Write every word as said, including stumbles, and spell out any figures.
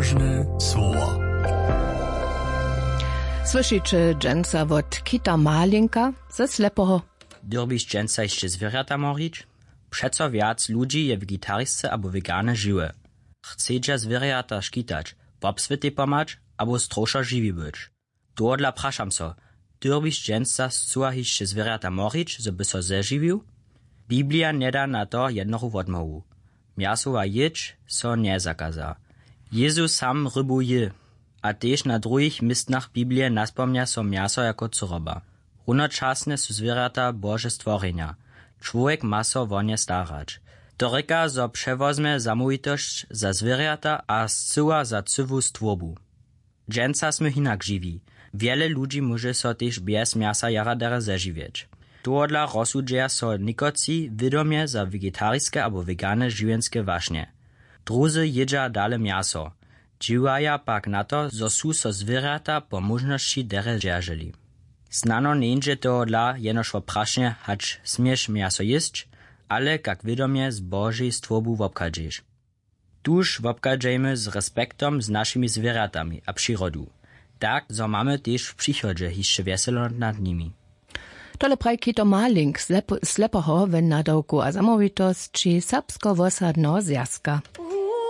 Słowo. Słyšiće dźensa wot Kita Malinka ze Slepoho. Dyrbiš dźensa hišće zwěrjata morić? Přeco wjac ludźi je wegetarisce abo wegane žiwe. Chcedźa zwěrjata škitać, wobswětej pomhać abo strowšo žiwi być? Tohodla prašam so, dyrbiš dźensa scyła hišće zwěrjata morić, zo by so zežiwił? Biblija njeda na to jednochu wotmołwu. Mjasowa jědź so njezakaza. Jezus sam rybu jě. A tež na druhich městnach Biblije naspomnja so mjaso jako cyroba. Runočasnje su zwěrjata Bože stworjenja. Čłowjek ma so wo nje starać. To rěka, zo přewozmje zamołwitosć za zwěrjata a scyła za cyłu stwórbu. Dźensa smy hinak žiwi. Wjele ludźi móže so tež bjez mjasa jara derje zežiwjeć. Tohodla rozsudźeja so někotři wědomje za vegetariske abo wegane žiwjenske wašnje. Druzy jědźa dale mjaso. Dźěłaja pak na to, zo su so zwěrjata po móžnosći derje dźerželi. Snano njeńdźe tohodla jenož wo prašenje, hač směš mjaso jěsć, ale kak wědomje z Božej stwórbu wobchadźeš. Tuž wobchadźejmy z respektom z našimi zwěrjatami a přirodu, tak zo mamy tež w přichodźe hišće wjeselo nad nimi. Tole praji Kito Malink z Lep-, Slepoho w nadawku a zamołwitosći Serbsko-wosadneho zwjazka.